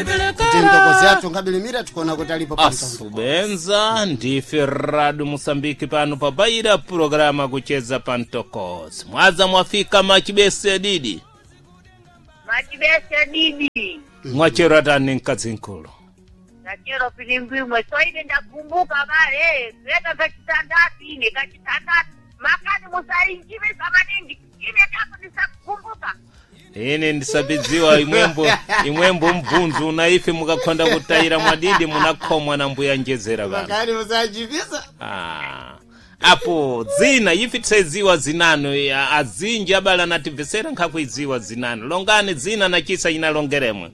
Kuti mtokozi athu ngabilimira tikuona kuti alipo pa mtondo. Asubenza ndife Radu Musambiki pano pabaira pulogalamu kucheza pa mtokozi. Mwaza mwafika machibese didi. Machibese didi. Mwachero atani mkazi nkulu. Nachero pilimbimwe. So ine ndakumbuka vale. Leta kachitandatu ine kachitandatu. Makani musainjive samaningi. Ine kako ndisakukumbuka. Ine ndisabidziwa imwembo imwembo mbvunzu una ife mukakhonda kutayira mwadidi munakhomwa na mbuya njezera vano. Makani musachipisa. Ah. Apo dzina ife tisaidziwa zinano ya, azinji abala natibvesera nkhakuidziwa zinano longani dzina nachisa inalongeremwe.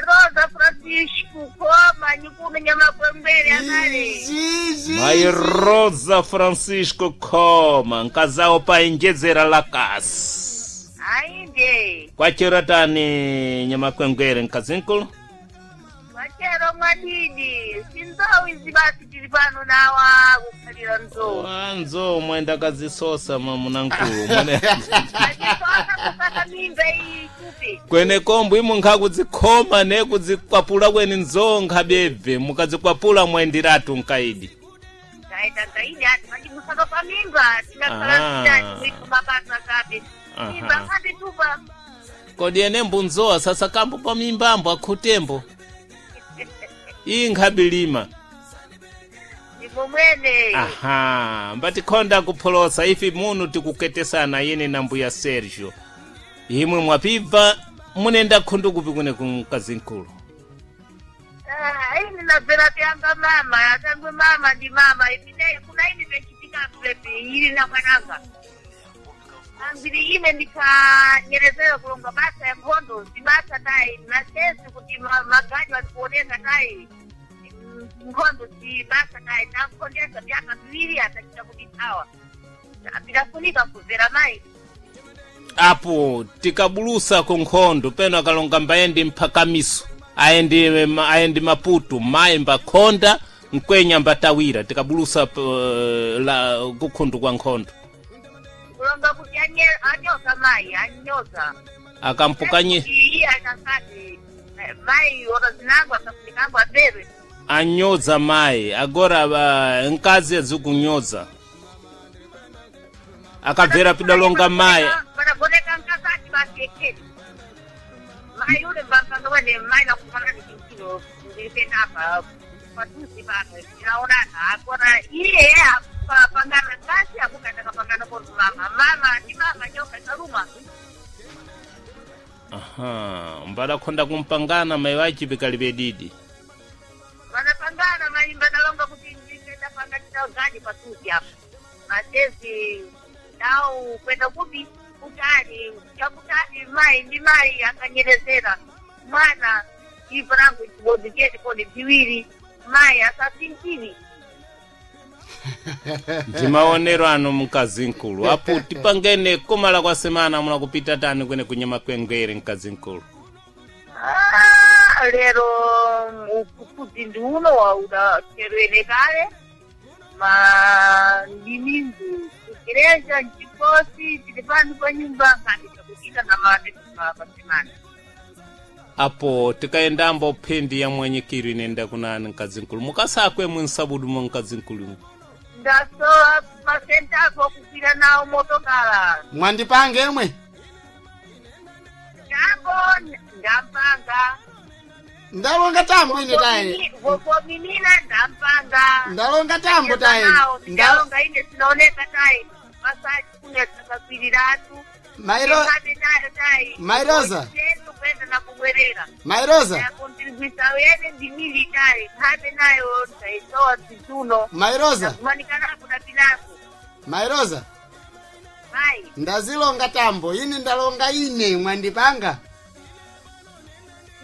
Rosa Francisco koma nyikuno nyamakwembere akale. Izvi. Mai Rosa Francisco Khoma nkazawo paenjezera la kasi. Ainde. Kwachero tani nyamakwengwere mkazinkulu. Mwachero mwadidi. Sinzowi zibasi tili pano nawa kukhalira nzowu. Wanzo mwenda kazisosa mamunankulu mwene. Achisosa kusaka mimba iyi kupi. Kwene kombo imwe nkhakudzikhoma ne kudzikwapula kweni nzoo nkhabebve mukadzikwapula mwendiratu nkaidi. Taita ngaidi ati machimusaka pa mimba tinakhala Ah. sitati mwiko mapasa kabe. Aha. Mimba kabe tupa. Kodi ene mbunzowa sasa kambo pa mimbambo akhutembo. Iyi nkhabilima. Ndimo mwene. Aha, mbatikhonda kupholosa ifi munu tikuketesana yene na mbuya Sergio. Imwe mwapibva munenda khundu kupi kune kumkazinkulu. Ah, ini nabvera pyanga mama atangwe mama ndi mama ine kuna ini pechitika pepe ili na mwananga ambiri ine ndikanyerezera kulonga basa ya nkhondo zibasa tayi nasesi kuti maganyu atikuonesa tayi nkhondo zibasa tayi nankondesa vyaka viwiri atachita kudithawa pitafunika kuzera mayi. Apo tikabulusa ku nkhondo peno akalonga mbayendi mphakamiso ayendi ayendi maputu mayi mbakhonda mkwenya mbatawira tikabulusa la kukhundu kwa nkhondo. Kulonga kuti anyoza mayi anyoza. Akampukanye iye akasati mayi orozinango akafunikangwa abere. Anyoza mayi agora nkazi azikunyoza akabvera pidalonga mayi. Panagoneka nkakati basi ekeni mayi ule mbapanga wene mayi nakufanani chinkino ndilipendapa patuzi pano tinaonana akona iye apangana kasi akukataka koni mama mama ndi mama nyoka ikaluma. Aha, mbadakhonda kumpangana mayi wachipi didi. Vanapangana maimba dalonga kuti ndipenda chitagadi patuzi apo matezi dau kwenda kupi kutali chakutali mai ndi mai akanyerezera mwana ivo rangu chibodzi chete kodi viwiri mai asasinchiri. Ndimaonero ano mkazi mkulu apo tipangene kumala kwa semana muna kupita tani kwene kunyama kwengwere mkazi mkulu. Ah, lero ukuti ndi uno waudacherwene kale ma ndimingu kukiresha nchikosi tili pano pa nyumba ngati chakuchita na pasemana. Apo tikayendambo phindi ya mwanyikiro inenda kunani mkazi mkulu mukasakwe munsabudu mwa mkazi mkulu. Ndasowa masentako okukwira nawo motokala. Mwandipange imwe. Tambo ndampanga. Ndalonga tambo ine tayi. Vokominina ndampanga. Ndalonga tambo tayi. Ndalonga ine sinaoneka tayi masachi kunetsakakwiriratu. Mairo Mai Rosa. Kwenda na kubwerera. Mai Rosa. Yakontirigwisa wene ndimili tayi nkhabe nayo taisowa zizuno. Mai Rosa. Kumanikana kuna pilaku. Mai Rosa. Mai. Ndazilonga tambo ine ndalonga ine mwandipanga.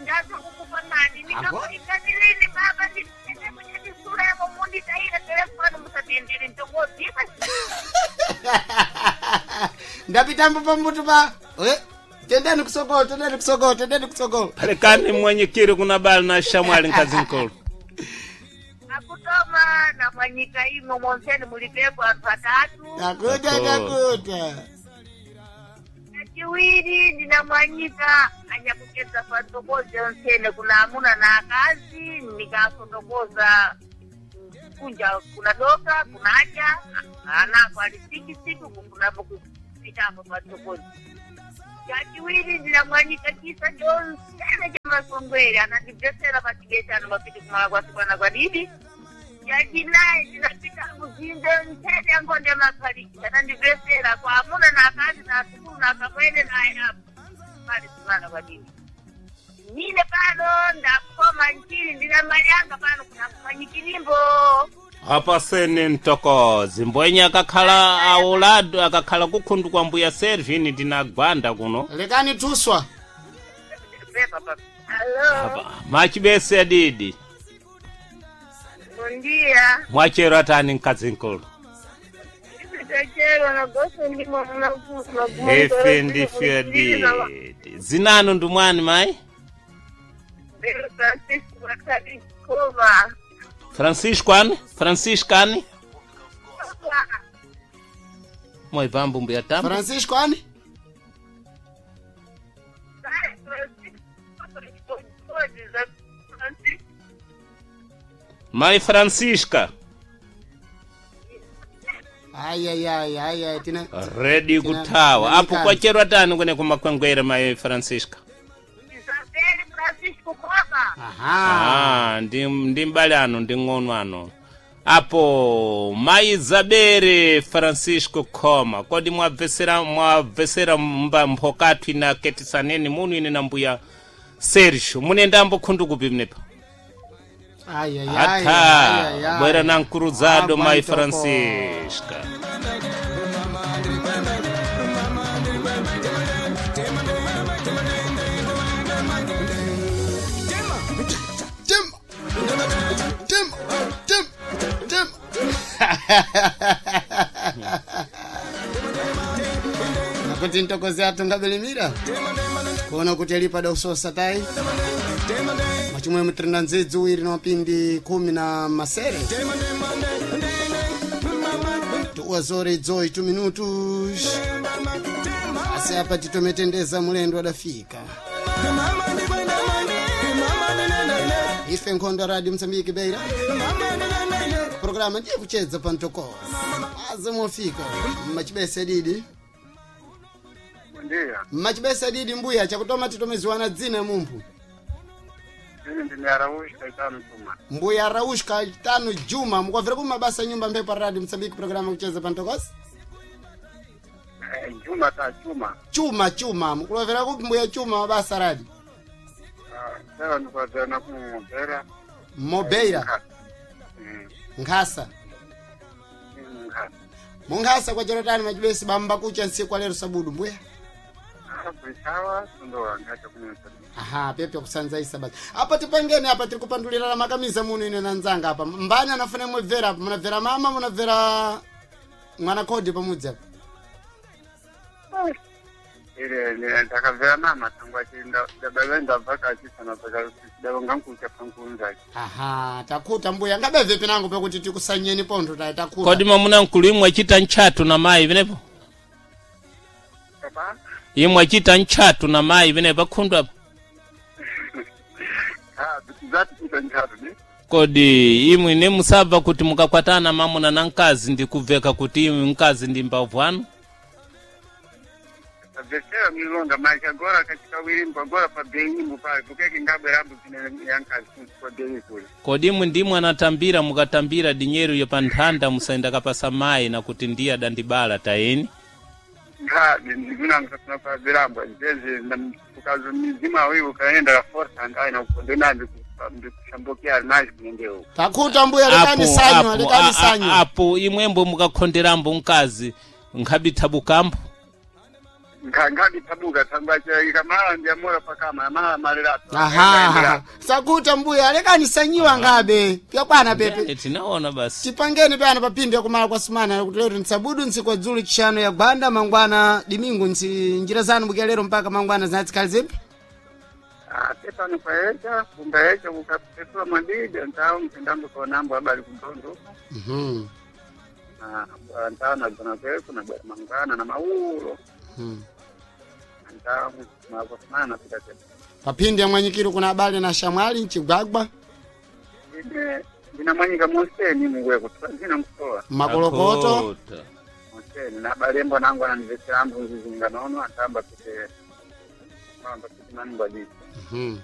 Ndazokukupangani ndikakuikanilini baba ndikunyadisura yako munditaira telefoni musatendere ntokoziva. Ndapitambo pambutu pa. Tendeni kusogolo, tendeni kusogolo, tendeni kusogolo. Palekani mwanyikiro kuna bali na shamwali mkazi mkulu. Akutoma na mwanyika imwe monseni mulipepo anthu atatu. Takuta Tako. takuta. Chachiwiri ndinamwanyika anyakucheza patokoze onsene kuna amuna na akazi nikafotokoza kunja kuna doka kunacha anako alisikisiku kunapo kupitapo patokoze. Chachiwiri ndinamwanyika chisa chonsene cha masongwere anandibvesera pachigetano mapiti kumala kwasikwana kwadidi. Chachinayi ndinapita muzinze ntsene yangonde mapaliki anandibvesera kwa amuna na akazi na asukulu na akamwene naye apo pali simana kwadidi. Nine pano ndakoma nchini ndina mayanga pano kuna kumanyikilimbo. Apa sene ntokozi mbwenye akakhala aulado akakhala kukhundu kwa mbuya Servini ndinagwanda kuno. Lekani tuswa. Pepa papa. Alo, Apa, machibese adidi bom dia. mwachero atani mkazi nkulu. Chero na gosto ndimo mna Efe ndife adidi zinanu ndumwani mayi Francisco Kova. Francisco ani Francisco ani mwaivambu mbuya tamba Francisco ani? Mayi Francisca Ai ai ai ai ai tina redi kuthawa Tina- apo kwachero atani kune kumakwengwere mayi Francisca. Isabel Francisco Kova. Aha. Ah, ndi mbale ano ndi ng'ono ano apo mayi Zabere Francisco Khoma kodi mwabvesera mba mphokathu ina ketisaneni munu ine na mbuya Sergio munendambo khundu kupi mnepa Ai ai ai. atha ai, ai. bwera na nkuruzado Ah, mayi bwanitoko. Francisca. Tim. Tim. Tim. Tim. Nakuti ntokozi athu ngabelimira kuona kuti alipa dausosa tai mwachimwe mutirina ndzidzi uwiri na mapindi 17 2:08 minutos. Asi apa titometendeza mulendo adafika. Ife nkhondo radio Msambiki Beira programa ndiye kuchedza pa mtokozi aze mofika mmachibese didi. Ndiyo, Mmachibese didi mbuya chakutoma titomeziwana dzina mumphu. mimi ndine Araujo Caetano Juma. Mbuya Raush Kaitano Juma mukwavira kumabasa nyumba mphepo radio Msambiki programa kucheza pa mtokozi. Juma ta Juma. Chuma chuma mukulovera kupi mbuya chuma mabasa radi Sera nikwazana kumubera. Mobeira nkhasa Nkhasa. munkhasa kwa chorotani machibesi bamba kucha ntsiku alero sabudu mbuya. Kuisawa tundoa ngacha kumesa. Aha, pepe kusanzaisa basi. Apa tipangeni apa tiri kupandulira makamisa muno ine nanzanga apa. Mbani anafuna mwebvera apa? Munabvera mama, munabvera mwana kodi pamudzi apa. Ile ni ndakabvera mama tangu achinda ndababa ndabva kachisana paka ndabonga nkucha pankunza. Aha, takuta mbuya ngabeve pinango pekuti tikusanyeni pontho tayi takuta. Kodi mwamuna nkulu imwe achita ntchatu na mayi vinepo Baba? imwe achita ntchatu na mayi vinepo akhundu apa. Ah, zati kuita nchatu ni. Kodi imwe ne musabva kuti mukakwatana mamuna na mkazi ndikubveka kuti imwe mkazi ndi mbavu anu. Vesera milonda maisha gora katika wirimbo gora pa benyimbo pale kukeke ngabwe rambo zine yankazi kwa benyi kule. Kodi imwe ndimwe anatambira mukatambira dinyeru yo pa nthanda musaenda kapasa mayi na kuti ndiye adandibala tayeni. Ngabi ndinanga sana kwa virambo njeze na ukazo mizima wewe ukaenda la força ngai na ukondena ndikushambukia nazi kunende huko. Takuta mbuya lekani Apo, sanywa, apo, lekani sanywa. apo imwembo mukakhonderambo mkazi nkhabithabukambo. Ngabi tabuka tangwa ikamala ndiamora pakama mala malirato. Aha. Sakuta mbuya lekani sanyiwa ngabe. Pyakwana pepe. Tinaona basi. Tipangeni pano papindi yakumala kwa sumana kuti lero ntsabudu ntsiku kwa dzulu chishano ya gwanda mangwana dimingu ntsi njira zanu bukia lero mpaka mangwana zinatsikali zipi. Ah, pepano kwaecha kumbaecha kukapepula mwadidi ntao mpendambo kwa nambo habari kudondo. Mhm. Ah, ntao na zona kweku na bwana mangwana na maulo. Mhm. Nta mapita tena. Papindi ya mwanyikiro kuna habari na shamwali nchigwagwa. Ine ndinamwanyika monseni mungwe kutoa zina mkutoa. Makolokoto. Akota. Monseni na balembo nangu ananivesera ambu nzizinga nono atamba pite. Mamba pite manungwa jisi. Mhm.